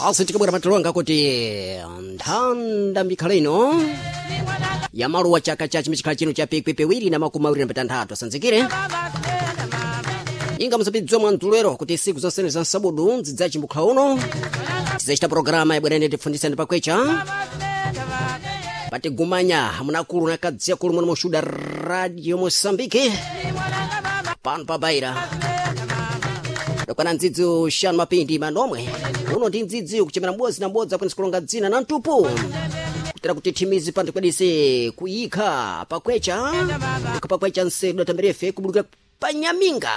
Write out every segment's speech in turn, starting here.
Basi tikabwera matulonga kuti nthanda mikhalo ino ya maluwa chaka cha chimikhala chino cha 2026 asanzikire inga musapidziwa mwamdulero kuti siku zonsene za nsabudu nzidzachimbukha uno tizacita programa yabwerene tifundisani pakwecha patigumanya munakulu nakadziya kulu muno mushuda radio Mosambiki pano pabaira dokwana ndzidzi uxanu mapindi manomwe uno ndi ndzidzi kuchemera m'bodzi na m'bodzi akwanisa kulonga dzina na mtupu kutera kuti thimizi pano tikwadise kuyikha pakwecha kuyikha pakwecha nsedu datamberefe kubulukira panyaminga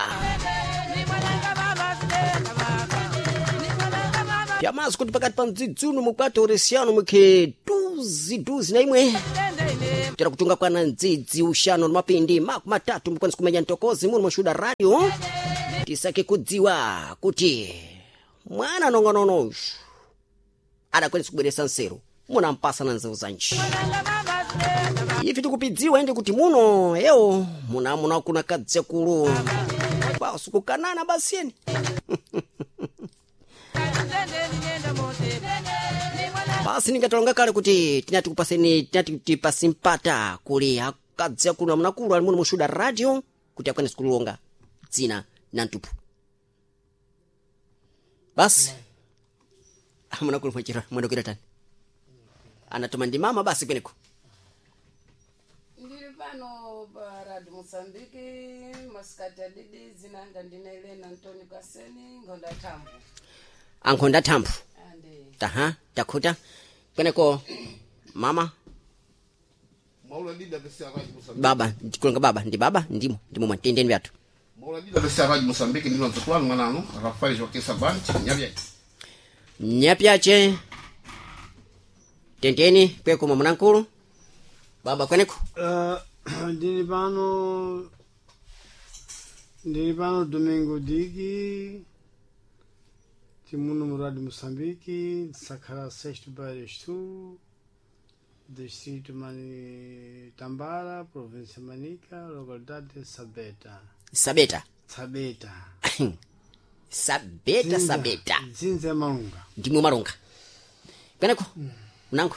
pyamazi kuti pakati pa mdzidzi uno mukwati oresiano mukhe duzi duzi na imwe kutera kutunga kwana ndzidzi uxanu na mapindi 30 mukwanisa kumenya ntokozi muno mushuda radio tisake kudziwa kuti mwana nong'onono adakwanisa kubweresa nseru munampasa na nzeru zanji ifi tikupidziwa ende kuti muno ewo munamuna kuna kadzekulu basi kukanana basiyeni basi ningatalonga kale kuti tinati kupaseni tinati tipasi mpata kuli akadzekulu na munakulu ali muno mushuda radio kuti akwanise kulonga dzina na mtupu basi munakulu mwachira mwendokera tani anatuma ndi mama basi kweneko Ndiri pano pa Radio Mozambique masikati adidi zinanga ndine Elena Antonio Kaseni ngonda thambo ankhonda thambo ande taha takhuta kweneko mama Mauladida vese Radio Mozambique. baba ndikulonga baba ndi baba ndimo ndimo mwatendeni vyathu Mauladida vese Radio Mozambique ndino nzukulanu mwananu Rafael Joaquim Sabante nyavyake. nyapyache tendeni kweko mwamunankulu baba kweneko Ndili pano ndili pano Domingo Digi timuno mu Rádio Moçambique Sakara Sexto Barestu distrito Mani Tambara província Manica localidade de Sabeta sabeta Sabeta sabeta sabeta Dzinza ya Malunga ndimwe malunga kweneko mnangu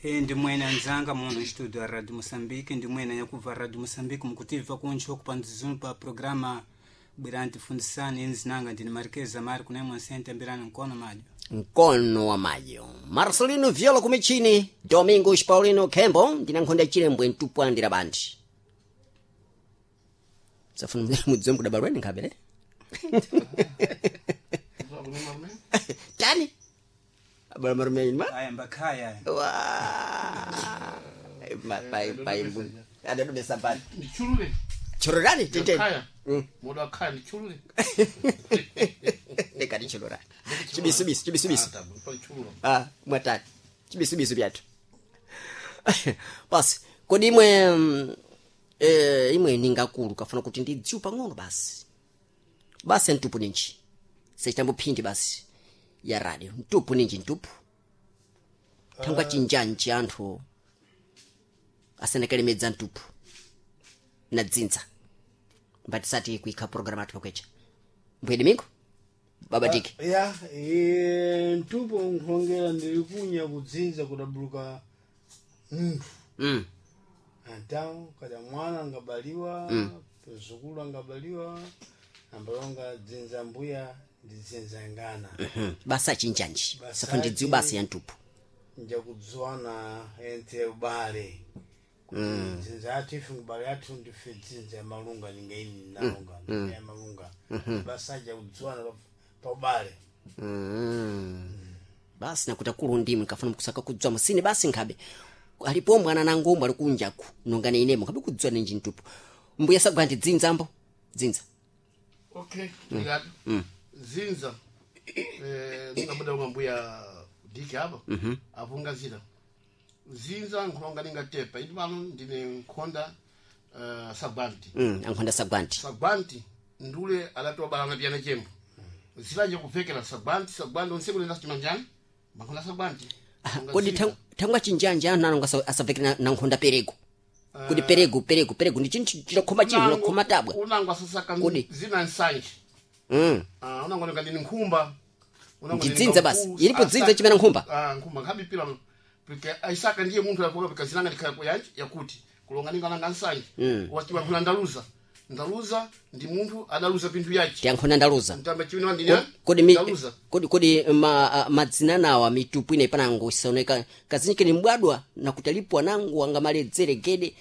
E ndimwene anzanga muno studio ya Radio Moçambique ndimwene nyakubva Radio Moçambique mukutibva kuncho kupanzizunu pa programa bwirani tifundisani inzinanga ndini Marquez Amari kuna imwe nsente ambirani mkono majo mkono wa mayo marcelino viola kumichini domingos paulino kembo ndina nkhonda chilembwe mtupwandira bandi safuna mudziwe mkudabalweni nkhabele tani abala marume ma aya mbakhaya wa ma pai pai adadumesa bandi Ndichulule. chororani tete Khaya. Moda khaya ndichulule. ndikati chororani chibisubisu chibisubisu Ah, tá, pode chulula. ah mwatani chibisubisu byathu basi kodi imwe imwe ningakulu kafuna kuti ndidziwe pang'ono basi basi mtupu ninji sechitambo phindi basi ya radio mtupu ninji mtupu thangwa chinjanji anthu asanakalemedza mtupu na dzinza mbatisati kuikha programu athu pakwecha mbuye domingo baba diki ya e, mtupo nkhulongera ndili kunya kudzinza kudabuluka munthu Então, kada mwana angabaliwa mzukulu angabaliwa ambalonga dzinza mbuya ndi dzinza ngana basa chinjanji Basa safa ndidziwe basi ya mtupu njakudziwana ente ubale kuti dzinza yathu ife ngubale yathu ndife dzinza ya malunga ningaini nalunga ya malunga basa ajakudziwana pa ubale basi nakuti akulu ndimwe nkafuna mkusaka kudzwa musine basi nkhabe alipo mwana nangomwe ali kunjaku nongane inemo nkhabe kudzwa ninji mtupu mbuya sagwa ndi dzinzambo dzinza Okay, obrigado. Zinza. Eh, ndingabuda unga mbuya diki apa. Avunga zina. Zinza nkhulonga ningatepa. Indi pano ndine nkhonda Sabanti. Ankhonda sagwanti Sagwanti ndule adatobalana piyana chembo. Zilanje kupfekera Sagwanti, Sagwanti onse kulenda chimanjani. Makhonda Sagwanti. Ah, kodi thangwa chinjanji anthu anonga asavekera na nkhonda perego kodi perego perego perego ndi chinthu chilokhoma chinthu chilokhoma tabwa Unango asasaka Kodi. zina nsanje. Ah, unango ndini nkhumba. Unango Ndidzinza ninga basi. mkulu, Ilipo asaka- dzinza chimene nkhumba. Ah, nkhumba nkhabipira porque aisaka ndiye munthu yakuka pikazinanga ndikhala yanji yakuti kulonga ninga nanga nsanje wachiwa kuna ndaluza ndaluza ndi munthu adaluza pinthu yachi Tiyankhona ndaluza. mtamba chiwina wandinya Kodi mi, ndaluza kodi kodi ma, madzina nawa mitupu ine panango isaoneka kazinji ni mbwadwa nakuti alipo anango angamaledzere gede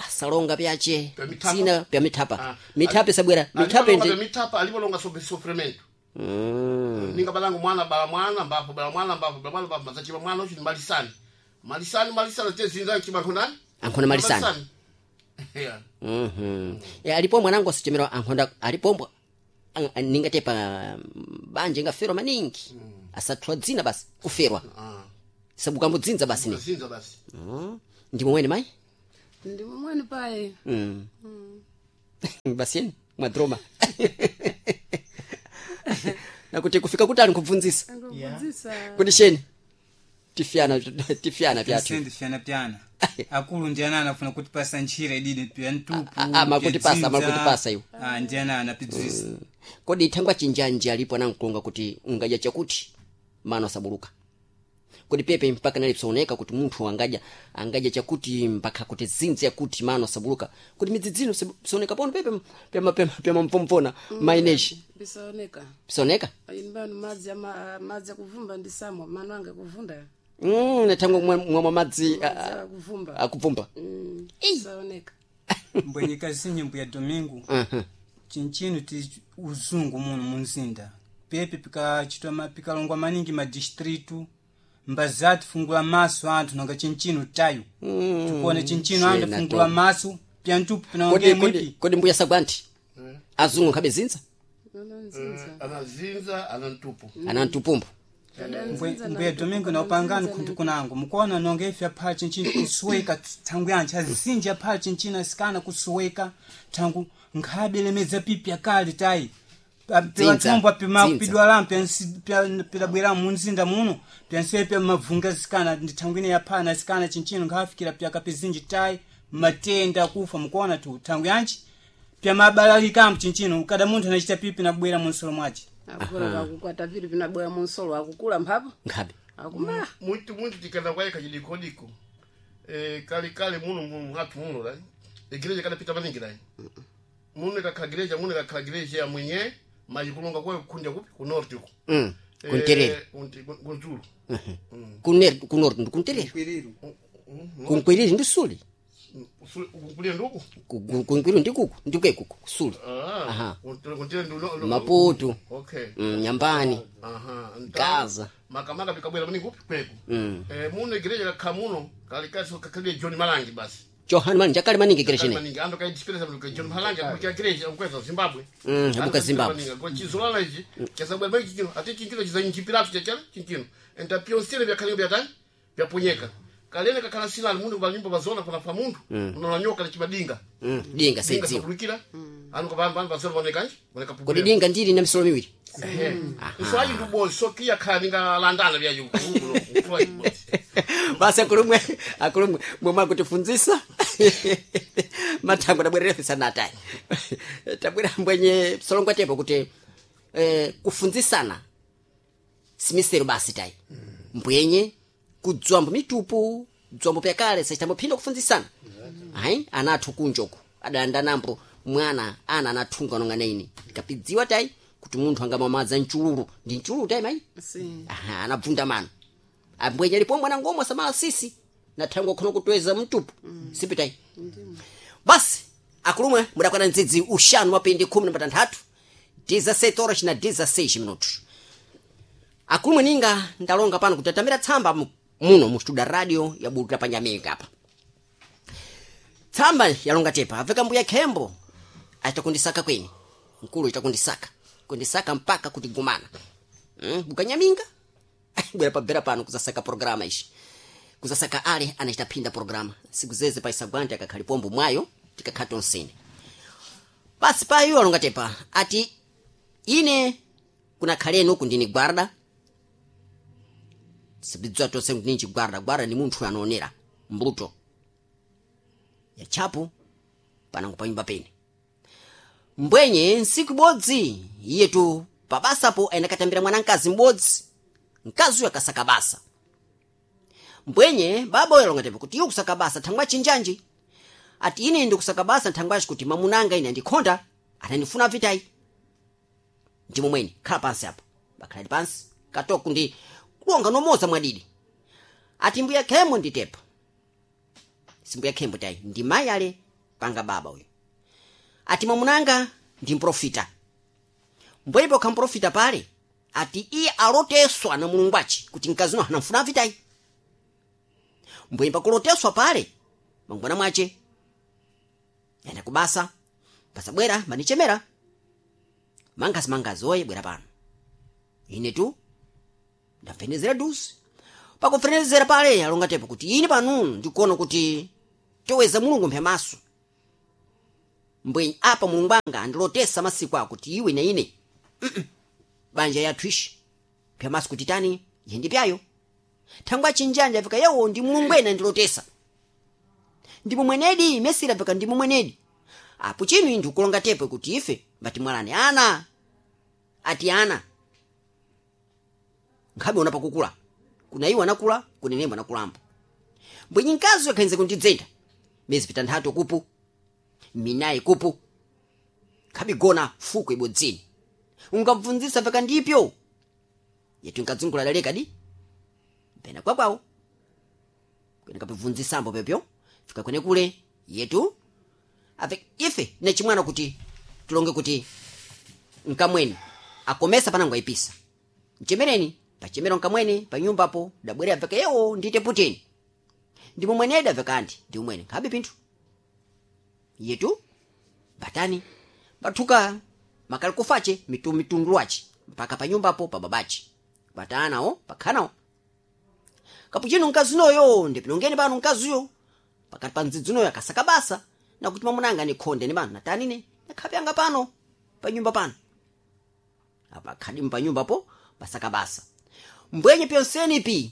asalonga pyache Pya mithapa. dzina pya mithapa Ah. mithape sabwera mithape Alipolonga ndi pya mithapa alipolonga sofremento ninga balango mwana bala mwana mbapo bala mwana mbapo bala mwana mbapo mazachiwa mwana uchi malisani malisani malisani te zinza chiba khonani Ankhona malisani. Yeah. Mhm. Ya, alipo mwanangu asichemera ankhonda alipombwa ningate pa banja ingaferwa maningi asathwa dzina basi kuferwa Ah. sabukambo dzinza basi ni Zinza basi ndi momwene mayi Ndi momwene paye. mm. Basi yeni mwadroma nakuti kufika kutali nkubvunzisa Ngobvunzisa. kuti sheni tifyana tifyana pyathu Sendi fyana pyana akulu ndi anana afuna kutipasa ntchira ididi pya ntupu Ah, ah, makutipasa, pya dzinza. makutipasa iwo. Ah, ndi anana pidzisa kodi thangwa chinjanji alipo anankulonga kuti ungadya chakuti mano asabuluka kodi pepe mpaka nalipsooneka kuti munthu angadya angadya chakuti mpaka kuti zinzi yakuti mano asabuluka kuti midzidzino psooneka pono pepe pyamamvomvona maineshi Bisaoneka. psooneka Ini bano madzi ama madzi akuvumba ndi samwa mano ange kuvunda. Nathangwa mwamwa madzi Madzi akuvumba. akuvumba Bisaoneka. mbwenyika zinyimbo ya domingo chinchino ti uzungu muno munzinda pepe pikachitwa pikalongwa maningi madistritu mbazati fungula maso anthu nanga chinchino tayo tikuona chinchino anthu Shena fungula to. maso pya ntupu kodi pinaonge kodi mwipi kodi mbuya sagwanti azungu nkhabe zinza Nono nzinza. Anazinza anantupu ana mtupumbu Mbuya domingo naupangani khuntu kunango mukuona nonga ife aphala chinchino kusuweka thangu yanthu azinji aphala chinchino asikana kusuweka thangu nkhabe lemedza pipi akali tayi Dzinza, pathombo apima dzinza. pidwalamu pidabwera munzinda muno pyansiye pya mavunga asikana ndi thangu ine yaphala na asikana chinchino nkhafikira pyakapizinji tayi matenda akufa mukuona tu thangu yanchi pyamabalalikambo chinchino kada munthu anachita pipi nabwera munsolo mwace Akula kakukwata pili pinabwera munsolo akukula mphapo. nkhabe Akuma. muntu muntu tikanda kwaye kachidikodiko eh kale kale muno muno hatu muno lai igreja kadapita maningi lai muno kakhala igreja muno kakhala igreja ya mwenye maji kulonga kwaye kukundya kupi ku north uko mm. Kunterere kunzulu kunor ndikunterere kunkwiriri ndi suli kulia nduku Kunkwiriri ndikuku ndikwekuku suli Aha. kuntere ndu Maputo. okay Nyambani aha Gaza. makamaka pikabwera maningi kupi kweku eh muno igreja kakhala muno kale kale kakhala John Malangi basi Johani mani jakale maningi gereshene maningi ando kaidisperesa mndu John Malangi abuka igreja ukweza Zimbabwe abuka Zimbabwe. Kwa chizolala ichi chasabwera maningi chichino ati chinchino chizanyichipiratu chachana chinchino enta pionsele vyakhalinga vyatani vyaponyeka kalene kakhala silani mundu kuba nyumba bazona kuna fa mundu unonanyoka lichibadinga Dinga dinga saidziwa sakulukira anu kwa vanhu bazona vaonekanje voneka kodi dinga ndili na misolo miwiri mswaji ndubozi sokiya khala ningalandana vyayo basi akulumwe akulumwe mwemwe akutifunzisa mathango tabwerera fisanatayi tabwera mbwenye solongwa tepo kuti kufunzisana simisero basi tayi mbwenye kudzwambo mitupu dzwambo pyakale sachitambophinda kufunzisana ayi anathu kunjoku adalanda nambo mwana ana anathunga nonga naine ndikapidziwa tayi kuti munthu angamwamadza mchululu ndi mchululu tayi mayi Si. Aha, anabvunda mano ambwenye alipo mwana ngomwe samala sisi nathangwa khono kutweza mtupu sipitai basi akulumwe mudakwana ndzidzi uxanu mapindi 16 17 horas na 16 minutos akulumwe ninga ndalonga pano kuti atamira tsamba muno mu studio radio ya butu la panyamika apa tsamba yalonga tepa aveka mbuya khembo achita kweni mkulu achita kundisaka kundisaka mpaka kuti gumana bukanyaminga bwera pabera pano kuzasaka programa ishi kuzasaka ale anachita phinda programa siku zeze paisagwante akakhali pombo mwayo tikakhala tonsene basi payo alonga tepa ati ine kunakhaleni uku ndini gwarda sibidzwa tonse kuti ninji gwarda gwarda ni munthu anoonera mbuto ya chapu panango panyumba pene mbwenye nsiku ibodzi iyetu Pabasapo ayendakatambira mwanamkazi m'bodzi, mkazi uyo akasaka basa. Mbwenye baba uyo alonga tepo kuti iwe kusaka basa thangwa chinjanji. Ati ine ndikusaka basa nthangwaci kuti mamunanga ine andikhonda, anandifuna vitayi. Ndimo mwene khala pansi apa. Bakhaladi pansi katoku ndi kulonga nomoza mwadidi. Ati mbuya khembo nditepa. Simbuya khembo tayi ndi mayi ale panga baba uyo. Ati mamunanga ndi mprofita. Mbwepo khamprofita pale ati iye aloteswa na mulungu aci kuti mkazi uno anamfuna vitayi. Mbwenye pakuloteswa pale mangwana mwace yenda kubasa pasabwera manichemera mangazi mangazi oye bwera pano ine tu ndamvenezera dusi. Pakupfenezera pale alonga tepo kuti ine pano ndikuona kuti toweza mulungu mphemaso. Mbwenye apa mulungu anga andilotesa masiku ako kuti iwe na ine banja yathu ishi mphemaso kuti tani yendi pyayo thangwa chinjanja afika yawo ndi mulungu ena ndilotesa. Ndipo mwenedi mesira afika ndimo mwenedi. Apo chinu ndikulonga tepo kuti ife mbatimwalane ana. Ati ana nkhabe una pakukula kuna iwo anakula kuna inembo anakulambo. Mbwenye mkazi yakhenze kundidzenda miyezi pitanthatu kupu minayi kupu nkhabe gona fuko ibodzini ungamvunzisa paka ndipyo yetu nkadzungula daleka di mpena kwakwawo kwene kapibvunzisambo pepyo fika kwene kule yetu ape ife nechimwana kuti tulonge kuti nkamweni akomesa panango ayipisa mchemereni pachemero nkamweni panyumbapo dabwera apeka yewo ndite puteni ndipo mwenedi apeka anti ndi umwene nkhabe pinthu yetu batani bathuka makali kufache mitundu wache mpaka panyumbapo pa babache batanawo pakhanawo kapuchino mkazi unoyo ndipilongeni pano mkaziyo pakati pa mdzidzi unoyo akasaka basa nakuti mamunanga nikhonde ni pano natanine nakhape anga pano panyumba pano apa khadi panyumbapo pasaka basa. Mbwenye pyonseni pi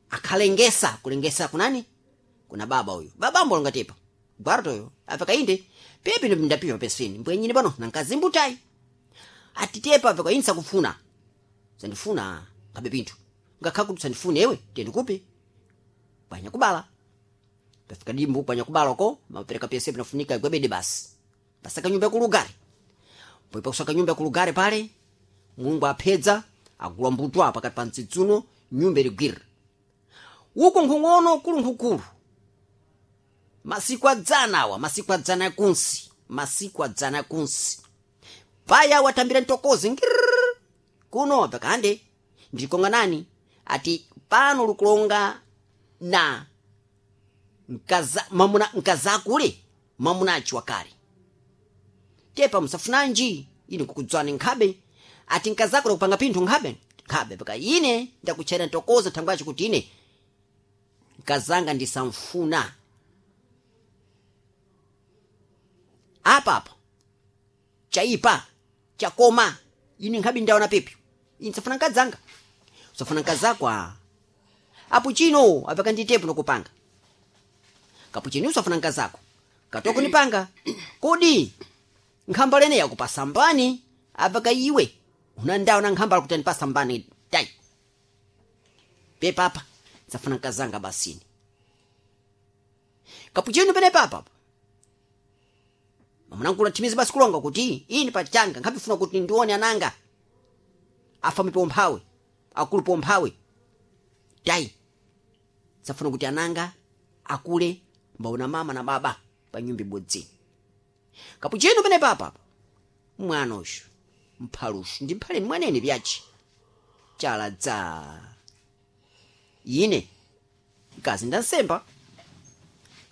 akhalengesa kulengesa kunani kuna baba uyu babambo longatepa gwartoyo apaka inde pepi ndo ndapiwa peseni mbwenyine pano nankazimbutayi atitepa apaka insa kufuna sandifuna kabe pinthu ngakha kuti sandifune ewe tendikupi panya kubala pafika dimbu panya kubala ko mapereka pese pinafunika gwebede basi pasaka nyumba yakulugare mbo pakusaka nyumba yakulugare pale mulungu aphedza agula mbutwa pakati pa mdzidzuno nyumba iligwira uko nkhung'ono kulu nkhukulu masiku adzana awa masiku adzana akunsi masiku adzana akunsi paya watambira mtokozi ngirrrr kuno pakande ndikonga nani ati pano lukulonga na mkaza mamuna mkazakule mamunachi wakale tepa musafunanji ine kukudzwani nkhabe ati nkazakule kupanga pinthu nkhabe nkhabe paka ine ndakuchera ntokoza thangwachi kuti ine nkazanga ndisamfuna apapa chaipa chakoma ine nkhabe ndaona pepyo ine safuna nkadzanga safuna nkazakwa apo chino apaka nditepo nokupanga kapo chino usafuna nkazako katoko nipanga kodi nkhamba lene yakupasambani apaka iwe unandaona nkhamba kuti andipasambani dai pepapa safuna nkazanga basini kapo chino pene papa mamunangula thimizi basi kulonga kuti ini pachanga nkhapifuna kuti ndione ananga afame pomphawe akulu pomphawe dai safuna kuti ananga akule mbaona mama na baba pa nyumba ibodzi kapuchino pene papa mwana uyu mphaluxu ndi mphaleni mwanene pyachi chala dza ine mkazi ndansemba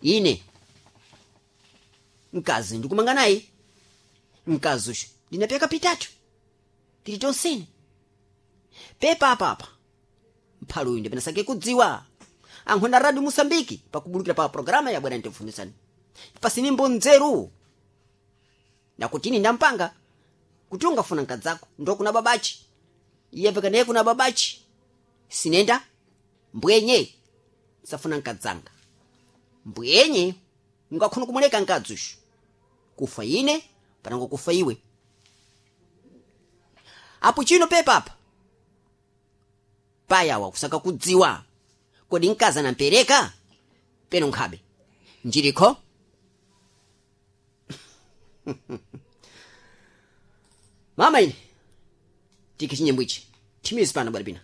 ine mkazi ndikumanga naye mkazi uyu ndinapeka pitatu tili tonsene pepa apapa mphalu uyu ndipenasake kudziwa ankhonda radio Mosambiki pakubulukira pa programa ya bwana ndikufunisani pasinimbo nzeru nakutini ndampanga kuti ungafuna nkadzako ndokuna babachi iye peka naye kuna babachi sinenda mbwenye safuna nkadzanga mbwenye ungakhona kumuleka nkadzi uyu kufa ine panango kufa iwe. Apo chino pepa apa payawa kusaka kudziwa kodi mkazi anampereka peno nkhabe njilikho. Mama ine tikhe chinyimbo ichi thimizi pano bwana pina.